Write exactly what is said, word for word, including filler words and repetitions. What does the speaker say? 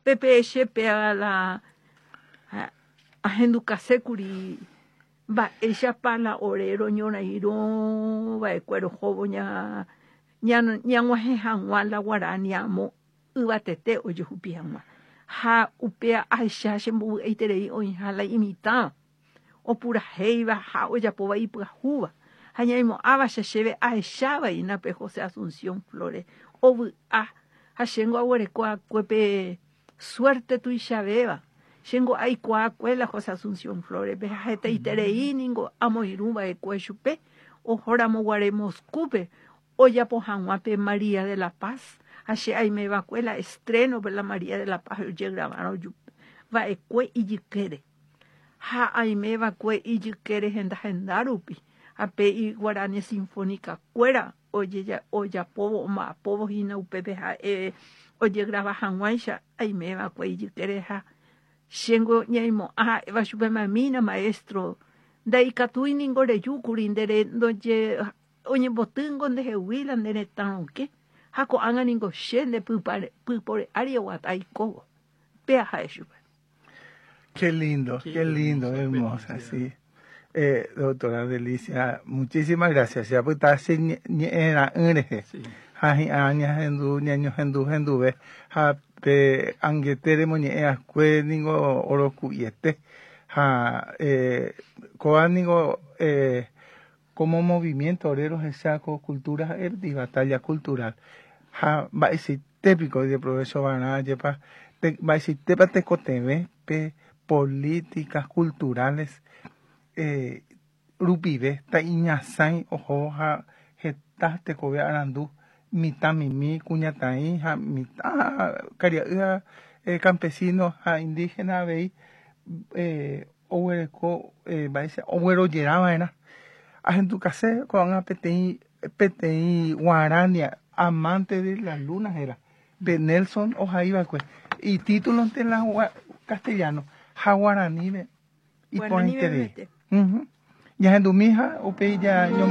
Pepe che la ahendukasékuri mba'éichapa la ore roñorairõ va'ekue rohóvo ña ñag̃uahẽ hag̃ua la guarani amo yvatete ojehupi hag̃ua ha upéa ahecha chembovy'aiterei oĩha la imitãva opurahéiva ha ojapóva ipyahúva ha ñaimo'ãva che chéve ahechávaina pe José Asunción Flores ovy'a ha chéngo aguerekoakue pe suerte tuichavéva chéngo aikuaakue la José Asunción Flores-pe ha hetaiterei ningo amoirũva'ekue chupe ohóramoguare Moscúpe ojapo hag̃ua pe María de la Paz ha che aimeva'ekue la estreno pe la María de la Paz ojegravarõ va'ekue ijykére ha aimeva'ekue ijykére henda henda rupi ha pe Guarania Sinfónica kuéra ojapóvo omba'apóvo hína upépe ha'e ojegrava hag̃uáicha aimeva'ekue ijykére ha chéngo ñaimo'ã ha'éva chupe mamína maestro ndaikatúi ningo rejúkuri ndere ndoje oñembotýngo ndehegui la nde retã rokẽ ha ko'ág̃a ningo che nde pypore ári oguata aikóvo péa ha'e chupe. Qué lindo, qué, qué lindo, hermosa, sí. Eh, doctora Delicia, muchísimas gracias. Ya pues está ñe'ẽra'ỹrehe. Ha hi'ã ñahendu ñañohendu henduve ha pe angetere moñe'ẽakue ningo oroku'iete ha eh, kóva ningo eh, como movimiento obrero rohecha cultura ha'e batalla cultural ha mba'eichaitépiko ojeprovecho-va'erã jepa mba'eichaitépa tekotevẽ pe políticas culturales eh, rupive ta'iñasãi oho ha heta tekove arandu mitãmimi kuñataĩ ha mitã karia'y ha eh, campesino ha indígena avei eh, oguereko eh, mba'éicha oguerojerava'erã ahendukase ko'ág̃a peteĩ peteĩ guarania amante de la luna héra pe Nelson ohaiva'ekue y título en la castellano ha guaranípe iporãiterei. Uh -huh. Ñahendumi ha upéi ja